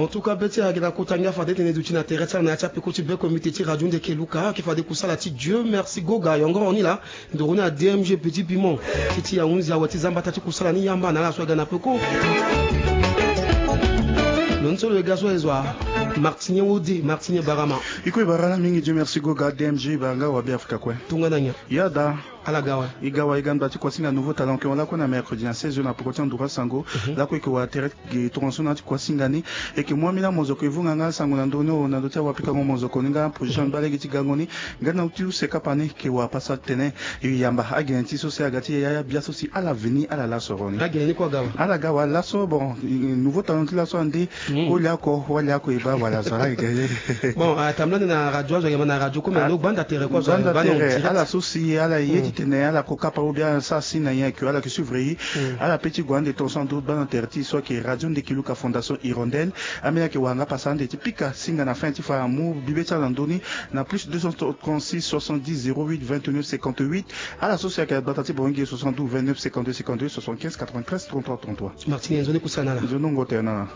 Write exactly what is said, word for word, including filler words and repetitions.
En tout cas, be ti ayeke na kota ngia fade tene duti na tere ti ala na ya ti apeko ti be comité ti radio Ndeke Luka ayeke fade kusala ti Dieu merci Goga yongoro ni laa. Ndoro ni a D M G Petit Piment ti ti ahunzi awe ti zambata ti kusala ni yamba na ala so aga na peko. Lo ni so lo ye ga so aye zo a Martinien Wode, Martinien Barama. Iko e bara ala mingi, Dieu merci Goga, D M G e bara nga wa Be Afrika kue. Tongana nyen? Ya da. Ala ga awe. E ga awe, e ga nda ti kuasinga Nouveau Talent, e yeke hon lakue na mercredi na seize heures na peko ti anduru asango. Lakue e yeke wara tere ge tongaso na ya ti kuasinga ni. E yeke mu ambeni amozoko e vunga nga asango na ndö ni o, na ndö ti awapikango mozoko ni nga position ni baa lege ti gango ni. Nga na ti use kapa ni e yeke wara pasa tene e yamba agene ti so si aga ti yaya bia so si ala veni ala laso ro ni. Agene ni kue aga awe. Ala ga awe laso, bon, Nouveau Talent ti laso ande. Koli oko, wali oko e baa wala zo ala yeke. Bon, atambula ni na radio azo ayeke ma na radio kue me ando gbanda tere kue azo gbanda tere, ala so si ala ye ti tene ala ko kapa ou bien ala sara si na nyen ke ala yeke suivre e. Ala pe ti gue ande tongaso ando gbanda tere ti e so ayeke radio Ndeke Luka Fondation Hirondelle. Ambeni ayeke wara nga pasa ande ti pika singa na fin ti fa amu bibe ti ala na ndö ni na plus deux cent trente-six soixante-dix zéro huit vingt-neuf cinquante-huit. Ala so si ayeke na gbata ti Bangi soixante-douze vingt-neuf cinquante-deux cinquante-deux soixante-quinze quatre-vingt-treize trente-trois trente-trois. Martini, nzoni kusana na ala. Nzoni wongo tere na ala.